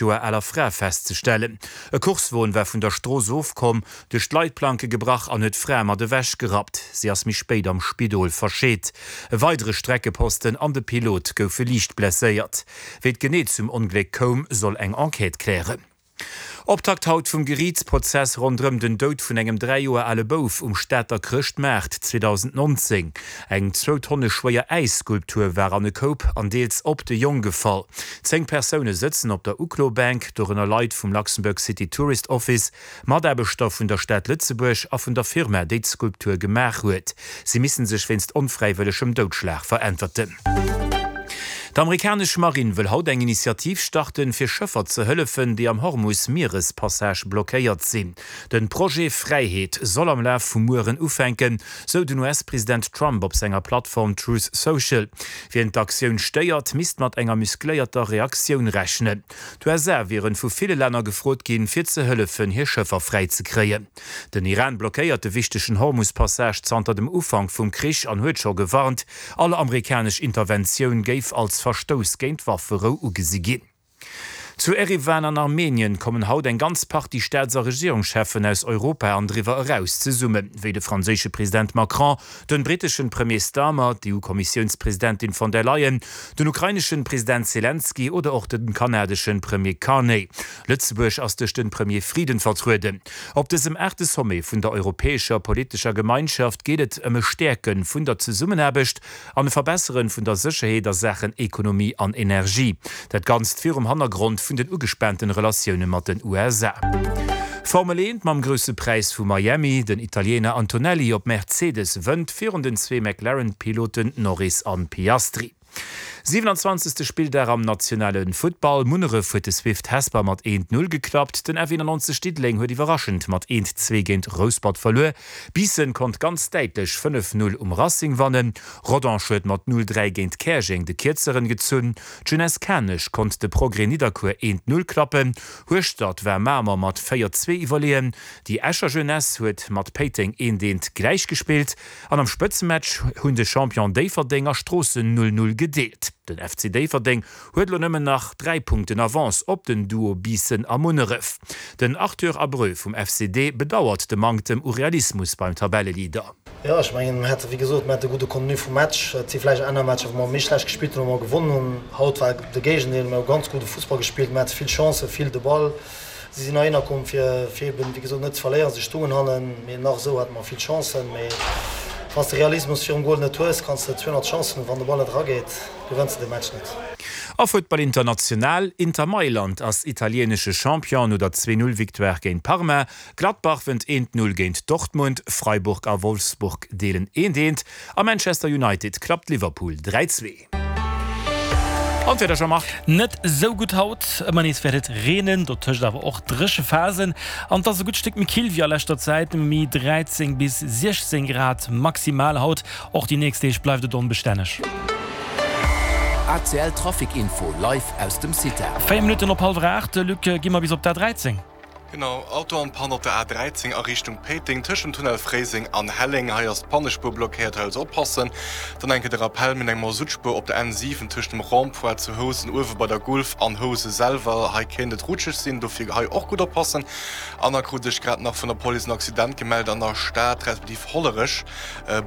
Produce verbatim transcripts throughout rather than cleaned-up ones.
Joer aler Fra festzestellen. E Coursewon war vun der Strooss ofkomm, duerch d'Leitplanke gebrach an huet d'Fra mat ewech gerappt. Si ass méi spéit am Spidol verscheet. E weidere Streckeposten an de Pilot goufe liicht blesséiert. Wéi et genee zum Ongléck koum, soll eng Enquête klären. Optakt haut vum Geriichtsprozess ronderëm den Doud vun engem dräi Joer ale Bouf um Stater Chrëschtmaart zweedausendnonzéng. Eng zwou Tonne schwéier Äisskulptur war an e Koup an deels op de Jong gefall. Zéng Persoune sëtzen op der Uklobänk, dorënner Leit vum Luxembourg City Tourist Office, Mataarbechter vun der Stad Lëtzebuerg a vun der Firma, déi d'Skulptur gemaach huet. Si missen sech wéinst onfräiwëllegem Doudschlag veräntwerten. D'amerikanesch Marinn wëll haut eng Initiativ starten, fir Schëffer ze hëllefen, déi am Hormus-Mierespassage blockéiert sinn. Den Projet Fräiheet soll am Laf vum Mueren ufänken, sou den U S-President Trump op senger Plattform Truth Social. Wien d'Aktioun stéiert, misst mat enger muscléierter Reaktioun rechnen. D'U S A wieren vu ville Länner gefrot ginn, fir ze hëllefen, hir Schëffer fräi ze kréien. Den Iran blockéiert de wichtegen Hormus-Passage zanter dem Ufank vum Krich an huet scho gewarnt, all amerikanesch Interventioun géif als Verstouss géint d'Wafferou ugesi ginn. Zu Eriwan an Armenien kommen haut eng ganz Partie Staats a Regierungscheffen aus Europa an driwwer eraus zesummen, wéi de franséische President Macron, den britteschen Premier Starmer, d'E U-Kommissiounspresidentin von der Leyen, den ukraineschen President Selenskyj oder och den kanadeschen Premier Carney. Lëtzebuerg ass duerch den Premier Frieden vertrueden. Op dësem aachte Sommet vun der Europäescher Politescher Gemeinschaft geet et ëm e Stäerke vun der Zesummenaarbecht an e Verbessere vun der Sécherheet a Saachen Ekonomie an Energie. Dat Ganzt virum Hannergrond vun den ugespaanten Relatioune mat den U S A. Formel eent mam Grousse Präis vu Miami, Den Italiener Antonelli op Mercedes wënnt virun den zwee McLaren-Piloten Norris an Piastri. Siewenanzwanzegste Spilldag am nationale Futtball, Munneref huet de Swift Hesper mat eent Null geklappt, den F eenannonzeg Diddeleng huet iwwerraschend mat eent Zwee géint Rouspert verluer, Biissen konnt ganz däitlech fënnef Null um Racing wannen, Rodange huet mat null dräi géint Käerjeng de Kierzeren gezunn, d'Jeunesse Kanech konnt de Progrès Nidderkuer eent Null klappen, Hueschtert war Mamer mat véier Zwee iwwerleeën, déi Escher Jeunesse huet mat Péiteng eent eent gläichgespillt an am Spëtzematch hunn de Champion Déifferdeng a Stroossen null null gedeelt. Den F C Déifferdeng huet elo nëmmen nach dräi Punkten Avance op den Duo Biissen a Munneref. Den Arthur Abreu vum F C D bedauert de Manktem u Realismus beim Tabelleleader. Jo, ech mengen, mir hate wéi gesot, mir hate gudde Contenu vum Match. Et si vläicht aner Matcher, wou mer méi schlecht gespillt hunn, wou mer gewonnen hunn. Haut war de Géigendeel, mir hu ganz gudde Fussball gespillt, mir hate vill Chancen, vill de Ball. Si sinn heihinner komm, fir, fir eben, wéi gesot, net ze verléieren. Si stoungen hannen, mee nach esou hate mer vill Chancen. Mee wann s de Realismus virum Gol net hues, kanns de zweehonnert Chancen hunn, wann de Ball net erageet, gewënns de de Match net. A Futtball international, Inter Mailand ass italienesche Champion no der Zwee-Null-Victoire géint Parma. Gladbach wënnt eent-Null géint Dortmund, Freiburg a Wolfsburg deelen eent-eent a Manchester United klappt Liverpool dräi-zwee. An d'Wieder, Jean-Marc? Net esou gutt haut, ëmmer nees wäert et reenen, dotëscht awer och dréche Phasen an et ass e gutt Stéck méi kill wéi a leschter Zäit, méi dräizéng bis siechzéng Grad maximal haut. Och déi nächst Deeg bleift et onbestänneg. A C L Trafic Info live aus dem CITAR. Véier Minutten op hallwer aacht, Luc, gi mer bis op d'A dräizéng. Genau, Auto en panne op der A dräizéng a Richtung Péiteng, tëscht dem Tunnel Fréiseng an Helleng. Hei ass d'Pannespuer blockéiert, hei also oppassen. Dann eng Kéier de Rappel, mir hunn eng Masuttspuer op der N siwen tëscht dem Rond-point zu Housen uewe bei der Gulf an Housen selwer. Hei kéint et rutscheg sinn, dofir hei och gutt oppassen. An da krut ech grad nach vun der Police en Accident gemellt an der Stad respektiv Hollerech,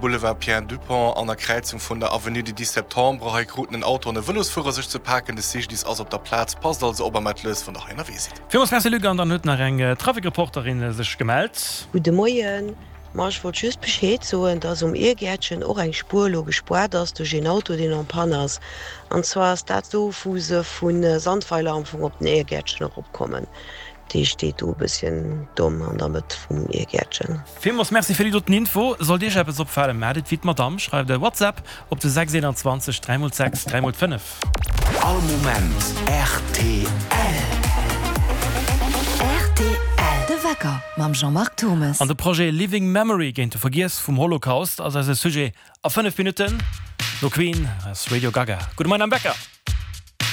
Boulevard Pierre Dupong an der Kräizung vun der Avenue du dix septembre. Hei kruten en Auto an e Vëlosfuerer sech ze paken. De C G D I S ass op der Plaz. Passt also op a maacht lues, wann der hei ënnerwee sidd. Villmools Merci Luc, an dann huet nach eng Trafikreporterin sech gemellt. Gudde Moien, ma ech wollt just Bescheed soen, dass um Irgäertchen och eng Spuer elo gespaart ass duerch een Auto deen en panne ass. An zwar ass dat do wou se vu Sandweiler am Fong op den Irgäertchen eropkommen. Dee steet do e bësschen domm an der Mëtt vum Irgäertchen. Villmools Merci fir déi doten Info. Sollt Iech eppes opfalen, maacht et wéi d'Madame, schreift e WhatsApp op de sechs eenanzwanzeg dräi mol sechs dräi mol fënnef. All Moment R T L. R T L, De Wecker mam Jean-Marc Thomes. An de Projet Living Memory géint de Vergiess vum Holocaust ass eise Sujet a fënnef Minutten. No Queen ass Radio Gaga. Gudde Moien am Wecker.